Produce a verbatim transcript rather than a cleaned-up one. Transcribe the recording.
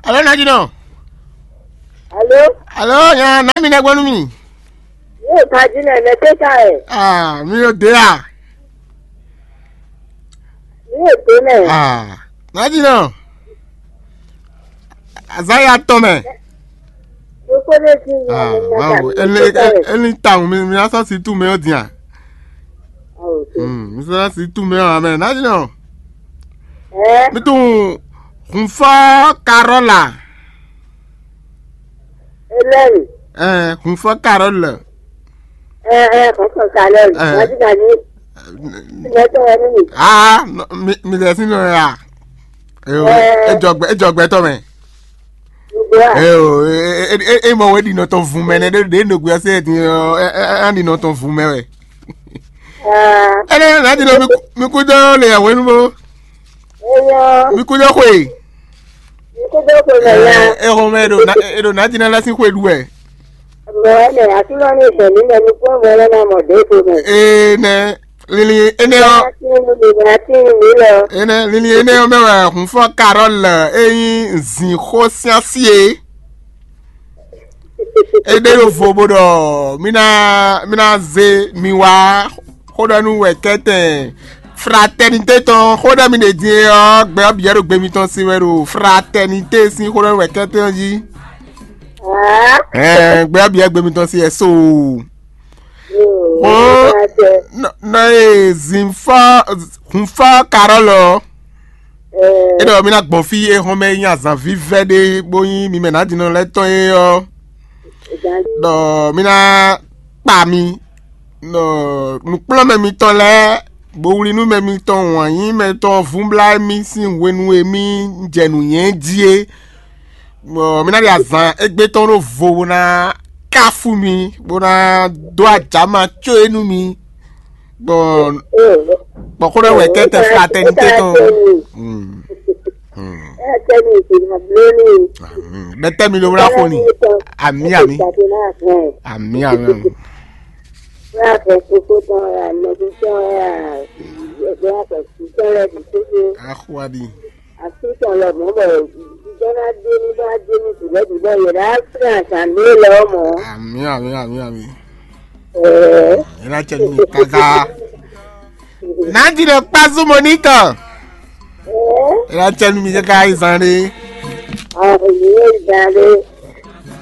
Alo, Nadinɔ. Alo, alo, nya na mi nɛ gbɔnu mi. Yóò ka jí nɛ mɛ tɛ ka ɛ. Ah, mi yo de a. Yóò dé nɛ. Ah, Nadinɔ. Azaya tɔn mɛ. Kókó ɖé jí nɛ. Ah, mɛ wow, ka ele ele ta mi mi asɔ si tu mɛ o dia. Oh, ok. Hmm, mi sɔ si tu mɛ o amɛ. Nadinɔ. Ɛ. Mi tun hunfɔ Carole la. Hélène. Ɛ, hunfɔ Carole la. Ɛ, ɛ, hunfɔ Carole. Ɛ. Wájú gani. Ìgbẹ́tọ̀ ẹni mi. Ah, mi mi lè sí nọ ya. Eo, Ɛ. Ejɔgbɛ ejɔgbɛ tɔ mɛ. Gbogbo a. Eo, e e e e mɔ we ɖi nɔ tɔn vun mɛ nɛ ɖe ɖe nɔ gbé ɔsɛ ti ɔ ɛ ɛ ɛ ɖi nɔ tɔn vun mɛ wɛ. Ah. Ɛnɛ na ɖi nɔ mi ku- mi kú dɔ le yàwó nu bó. Eyɔ. Mi kú dɔ xwe. Ikú dó ko mɛ ya. Ɛ ɛ xɔ mɛ e ɖo na e ɖo na dina lasi xwe ɖu wɛ. Mɔ ɛnɛ aklɔ ní ìfẹ̀mí mɛ ní kó mɔ ɛlẹ́ náà mọ̀ dé ko mɛ. Ee nɛ lili ene ɔ Atín mi lè atín mi lọ. Ene lili ene ɔ mɛ wɛ hun fɔ Carole e nyi zin xó siasi e. E ɖe ɖo vo bo ɖɔ mi na mi na ze mi wá xó ɖɔ nú wɛ kɛtɛn fraternité tɔn xó ɖɔ mi ɖe din e ɔ gbɛ ɔ biyɛ ɖo gbe mitɔn si wɛ ɖo fraternité sín xó ɖɔ nú wɛ kɛtɛn ɔ jí. Aa. Ɛɛ gbɛ ɔ biyɛ gbe mitɔn si wɛ so. Yoo. Ó. Aa tɛ. Nɔ nɔ e zin fɔ hun fɔ Carole ɔ. Ɛɛ. E ɖɔ mi na gbɔn fí e hɔn mɛ nyi azan vívɛ́ ɖé bó nyí mi mɛ nǎdínɔ lɛ́ɛ tɔn é ɔ́. Ɖɔ mi ná kpa mi ɖɔ nǔkplɔ́nmɛ mitɔn lɛ́ɛ, bowlínúmɛ mitɔn, wǎnyímɛ tɔn vúnblá mì sín hwenu e mì jɛ nǔ nyɛ jí é. Bɔ mi ná ɖi azǎn égbé tɔn ɖó vo bó ná káfú mi, bó ná dó ajǎma có é nú mi. Bɔ bɔ xó ɖɔ wɛ kɛtɛ fraternité tɔn. Hmm. Hmm. Bɛtɛ mi ló wla xo ni. Ami ami. Ami ami ami. Axuadi. Àfihàn lọ mọ́ bọ̀ ìjọ náà dé ní bá dé ní tìlẹ́bí bọ́ yẹn láti àṣà mi lọ mọ́. Ami ami ami ami. Ɛɛ. Ina cɛ mi kaka. Nadi ɖe kpazu mo nitɔ. Ɛɛ. Ina cɛ mi kaka izan ɖe. Àwọn ènìyàn ìgbà rẹ̀.